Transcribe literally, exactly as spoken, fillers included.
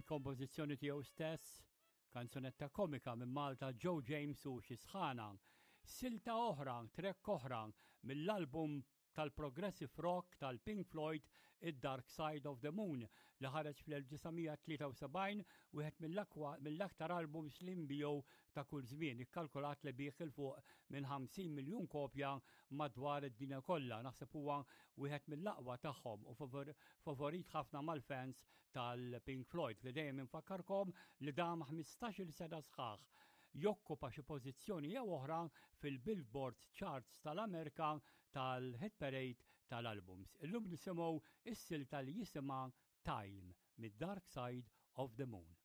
Kompożizzjoni tiegħu stess, kanzunetta komika minn Malta Joe James u xi sħana. Silta oħra, track oħra mill-album tal-Progressive Rock tal-Pink Floyd, Id-Dark Side of the Moon, li ħareġ fl-elf disa' mija tlieta u sebgħin, wieħed mill-aktar albums li nbiegħu ta' kull żmien, ikkalkulat li biegħ 'il fuq minn ħamsin miljun kopja madwar id-dinja kollha. Naħseb huwa wieħed mill-aqwa tagħhom u favorit ħafna mal-fans tal-Pink Floyd, li dejjem infakkarkom li dam ħmistax-il sena sħaħ jokkupa xi pożizzjoni jew oħra fil-Billboard Charts tal-Amerika tal-Hit Parade tal-albums. Illum nisimgħu is-silta li jisimha Time mid-Dark Side of the Moon.